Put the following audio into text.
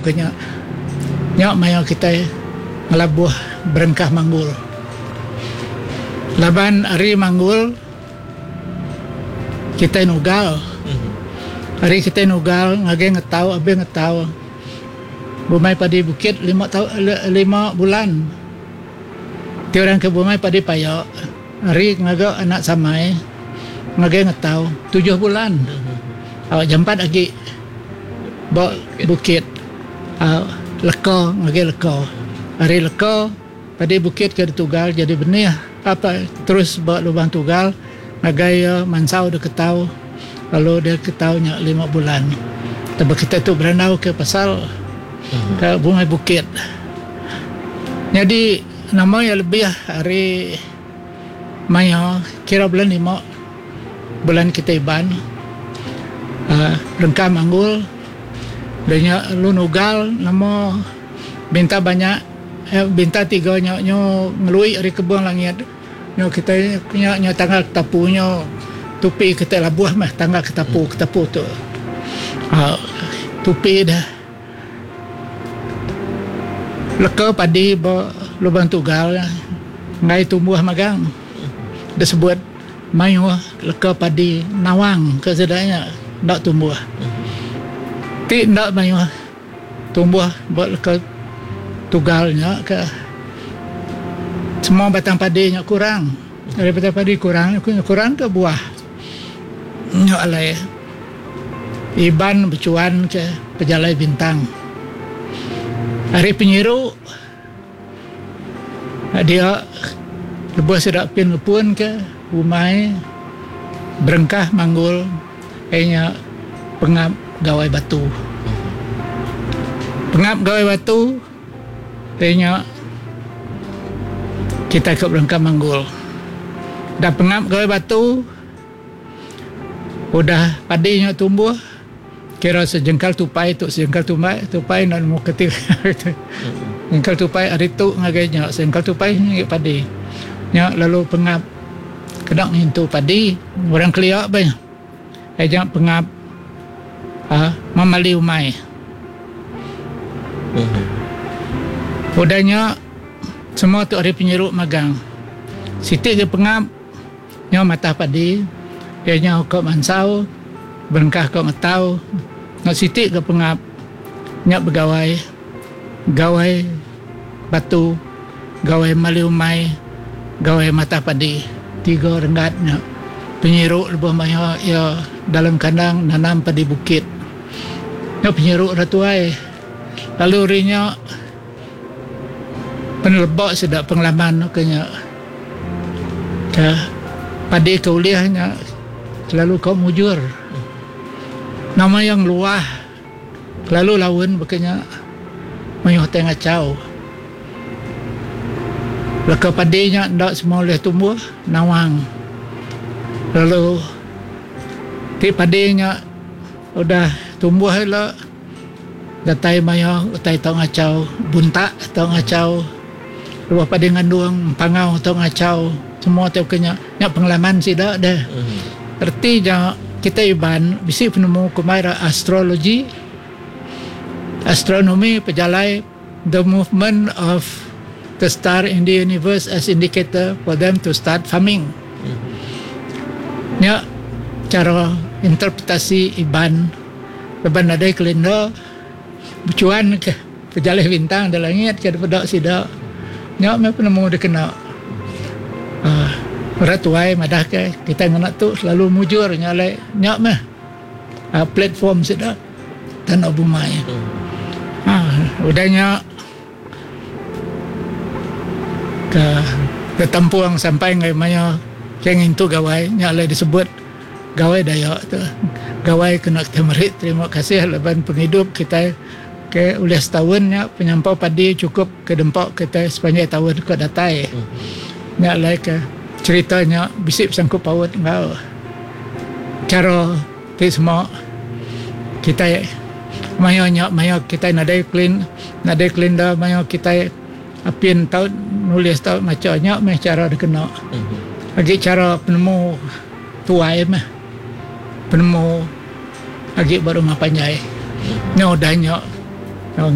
baka nya. Nya maya kitai ngelabuh berengkah manggul. Laban ari manggul kitai nugal. Ari kitai nugal ngagai ngetau abih ngetau bumai padi bukit lima tau lima bulan. Ti orang ke bumai padi paya ari ngaga anak samai ngagai ngetau tujuh bulan. Au jampat agi ba bukit au leka ngagai leka. Ari leka padi bukit ke ditugal jadi benih apa terus ba lubang tugal ngagai iya mansau deka ketau lalu dia ketau nya lima bulan. Taba kitai tu berandau ke pasal ke bungai bukit. Nyadi nama iya lebih ari maya kira bulan lima bulan kitai Iban uhh rengka manggul da nya lalu nugal nama binta banyak binta tiga nya nyu ngelui ari kebung langit. Nyo kitai nya nyo tangga ketapu nyo tupi kitai labuh meh tangga ketapu ketapu tu uhh tupi deh leka padi ba lubang tugal enggai tumbuh magang disebut mayuh leka padi nawang ke sida nya enda tumbuh ti enda mayuh. Tumbuh ba leka tugal nya ke semua batang padi nya kurang. Ari batang padi kurang kurang ke buah nya alai Iban bechuan ke pejalai bintang. Ari penyiru dia lebuh sida pin ngepun ke umai berengkah manggul. Iya nya pengap Gawai Batu. Pengap Gawai Batu iya nya kitai ke berengkah manggul. Dah pengap Gawai Batu udah padi nya tumbuh kira sejengkal tupai tu sejengkal tumbai tupai enda nemu keti sejengkal tupai ari tu ngagai nya sejengkal tupai ngagai padi. Nya lalu pengap kena ngintu padi orang kelia bah. Aja pengap uhh memali umai. Udah nya semua tu ari penyiru magang. Siti ga pengap nyau matah padi iya nyau ka mansau berengkah ka ngetau enggau siti ga pengap nya begawai gawai batu gawai mali umai gawai matah padi tiga renggat nya penyiru lebuh maya iya dalam kandang nanam padi bukit. Nya penyiru ira tuai lalu ari nya peneleba sida pengalaman ke nya ke padi ke ulih nya selalu ka mujur. Nama iya ngeluah. Kelalu laun baka nya mayuh utai ngachau. Leka padi nya enda semua ulih tumbuh nawang lalu ti padi nya udah tumbuh ila datai maya utai tau ngachau buntak tau ngachau lebuh padi ngandung empangau tau ngachau semua ti baka nya. Nya pengalaman sida deh. Reti nya kitai Iban bisi penemu kumbai ra astrologi, astronomi pejalai the movement of the star in the universe as indicator for them to start farming. Nya chara interpretasi Iban laban nadai kalender bechuan ke Pejalai bintang da langit ke dipeda sida nya meh penemu dikena uhh orang tuai madah ke kitai ngena tu selalu mujur nya alai nya meh uhh platform sida tanda bumai. Uhh udah nya ke betampung sampai ngagai maya ke ngintu gawai nya alai disebut Gawai Dayak tu. Gawai kena kitai meri terima kasih laban pengidup kitai. Ke ulih setaun nya penyampau padi chukup ke dempa kitai sepanjai taun ke datai. Nya alai ke cherita nya bisi besangkut paut enggau chara ti sema kitai maya nya maya kitai nadai klin nadai kalenda maya kitai apin tau nulis tau macha nya meh chara dikena. Agi chara penemu tuai meh penemu. Agi ba rumah panjai. Nya udah nya.